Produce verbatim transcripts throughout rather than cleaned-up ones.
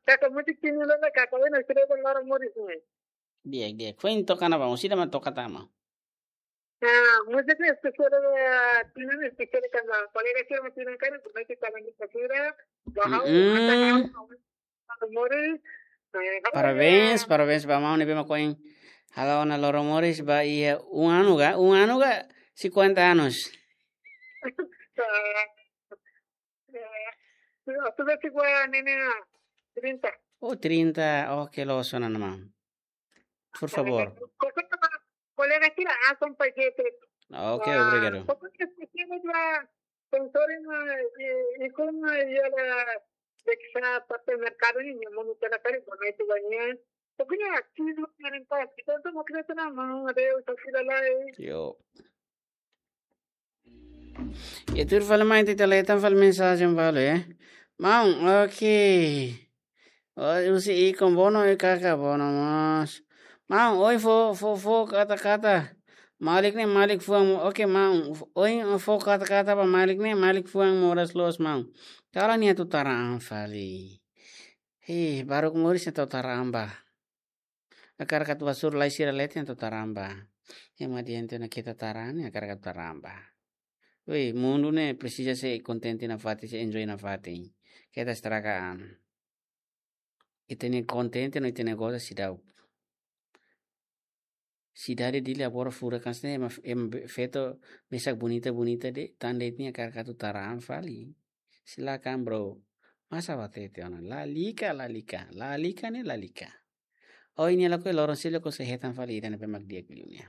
Kaka múzika ne'e la kaka, oi, na sira ba loro moris ne'e. Di'ak, di'ak. Foin toka ona ba, orsida mak toka tama. Ah, múzika ne'e espesiál, eh, tinan espesiál tanba kolega sira mak tinan karik, kolega sira mak tinan karik, bahau, Mm-mm. ata hau, hau, hau, moris, eh, hau, Parabéns, ya. Parabéns ba maun ne'ebé mak ohin hala'o ona loro moris ba iha um ano ga, um ano ga cinquenta anos. Ah, eh, sudah, sudah cinquenta, ne'e, trinta. Oh, trinta. Oke, loos ona maun. Por favor. Kolega sira asan pa jete. Ok, obrigado. Kolega sira dua sponsoring, eh, ikun, eh, ya la deksa parte merkadu ne'e, yang mau kita cari, bukan itu banyak. Pokoknya aktif, yang pas kita tuh mau kita tenang, mau ada yang usaha sila lain. Yo. Ita tuur fali mai, ita leten fali mensajen balu, eh. Maun, oke. Oh, husi ikun, bono, eh, kaka, bono mós. Maun, ohin fó, fó, fó kata-kata. Malik ne'e, Malik fuan mo-, oke, maun. Ohin fó kata-kata ba Malik ne'e, Malik fuan moras loos, maun. Kalan nia atu tara an fali. Hei, baruk moris nia atu tara an ba. Hakarak atu hasoru lai sira leten atu tara an ba. Ema diante na keta tara an, hakarak atu tara an ba. Wei, mundu ne'e presiza sei kontente nafatin, sei enjoy nafatin. Keta estraga an. Ita-nia kontente no ita-nia goza seidauk. Sidade Dili agora furak hanesan ne'e, ema, ema be-, feto mesak bonita-bonita de'it, tan de'it nia hakarak atu tara an fali. Silakan, bro. Masa ba hatete ona. Lalika, lalika. Lalika ne'e lalika. Oh, nia lakohi, loron seluk sei hetan fali ida ne'ebé mak di'ak liu nian.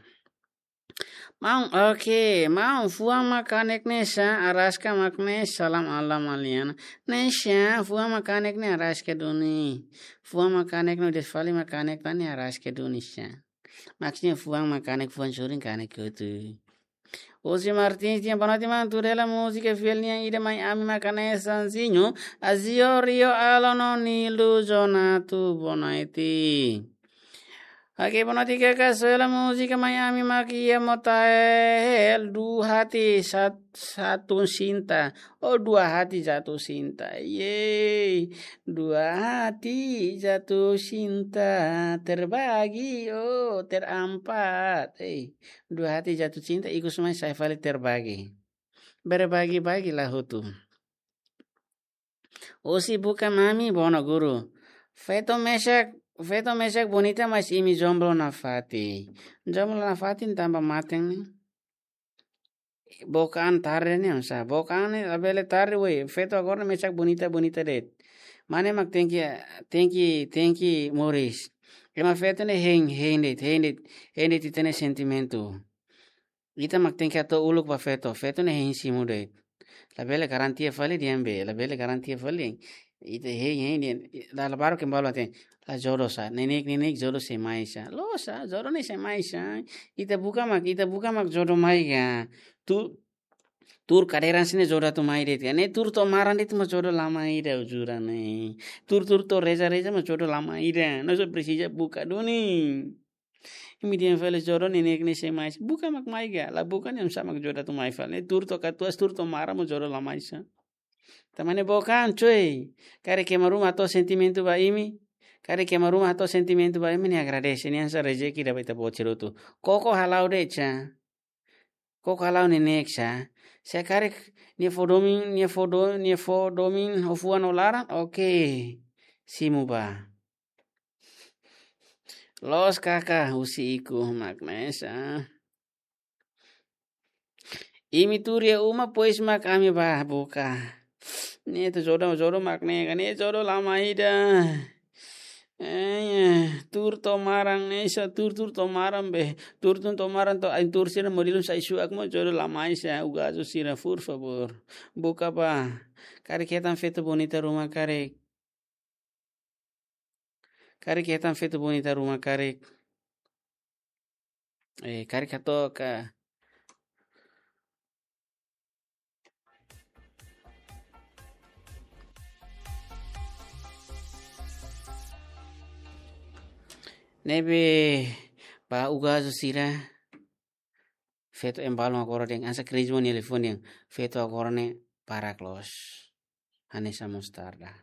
Maun, oke. Maun, fuan mak kanek ne'e sá, araska mak ne'e, salam ala Maliana. Ne'e sá, fuan mak kanek ne'e araska duni. Fuan mak kanek no desfali mak kanek tan ne'e araska duni sá. Maksudnya fuan mak kanek, fuan sorin kanek hotu. José Martins dehan boa noite, maun, tuur hela múzika fiel nian ida mai ami mak hanesan Zinho, Azio, Rio, Alon no Nilo Zonato, boa noite. Oke, boa noite, kaka, soe hela múzika mai ami mak iha Motael, Dua Hati Sat-, Satu Cinta. Oh, Dua Hati Jatuh Cinta. Yeay. Dua hati jatuh cinta, terbagi, oh, terampat. Eh, dua hati jatuh cinta, ikus mai sai fali terbagi. Berbagi-bagi la hotu. Husi Buka Mami, bono guru. Feto mesak, feto mesak bonita, mas imi jomblo nafatin. Jomblo nafatin tanba mate ne'e. Book an tarde ne'e, oinsá? Book an ne'e labele tarde, wei. Feto agora ne'e mesak bonita-bonita de'it. Mane mak tenke, tenke, tenke moris. Ema feto ne'e hein, hein de'it, hein de'it, hein de'it ita-nia sentimentu. Ita mak tenke hato'o uluk ba feto, feto ne'e hein simu de'it. Labele garantia fali dehan be, labele garantia fali. Ita hein, hein dehan, la, la baru kembali até. La jodoh sá, neineik, neineik jodoh sei mai sá. Loos sá, jodoh ne'e sei mai sá. Ita buka mak, ita buka mak jodoh mai ka. Tuur, tuur kadeira sira-ne'e jodoh atu mai de'it ka. Ne'e tuur to'o maran de'it mak jodoh la mai ida uzuran ne'e. Tuur, tuur to'o reza, reza mak jodoh la mai ida. Nusá presiza buka duni. Imi dehan fali jodoh neineik ne'e sei mai. Buka mak mai ka. La buka ne'e oinsá mak jodoh atu mai fali. Ne'e tuur to'o katuas, tuur to'o maran mak jodoh la mai sá. Tanba ne'e book an, cuy. Karik ema ruma hato'o sentimentu ba imi. Karik ema ruma hato'o sentimentu ba imi, ne'e agradese. Ne'e hanesan rezeki ida ba Ita-Boot sira hotu. Koko hala'o de'it sá. Koko hala'o neineik sá. Se karik nia fó domin, nia fó do-, nia fó domin ho fuan no laran, oke. Simu ba. Loos kaka, husi ikus mak ne'e sá. Imi tuur iha uma pois mak ami ba buka. Ne'e atu jodoh, jodoh mak ne'e ka, ne'e jodoh la mai ida. Eh, tuur to'o maran ne'e sá, tuur, tuur to'o maran be. Tuur, tuur to'o maran to'o ain tuur sira modelu sai suak mak jodoh la mai sá, ugazu sira, por favor. Buka ba. Karik hetan feto bonita ruma karik. Karik hetan feto bonita ruma karik. Eh, karik hato'o ka. Ne'ebé ba ugazu sira. Feto embalun agora dehan, hanesan Crismo nia liafuan dehan, feto agora ne'e barak loos. Hanesan mostarda.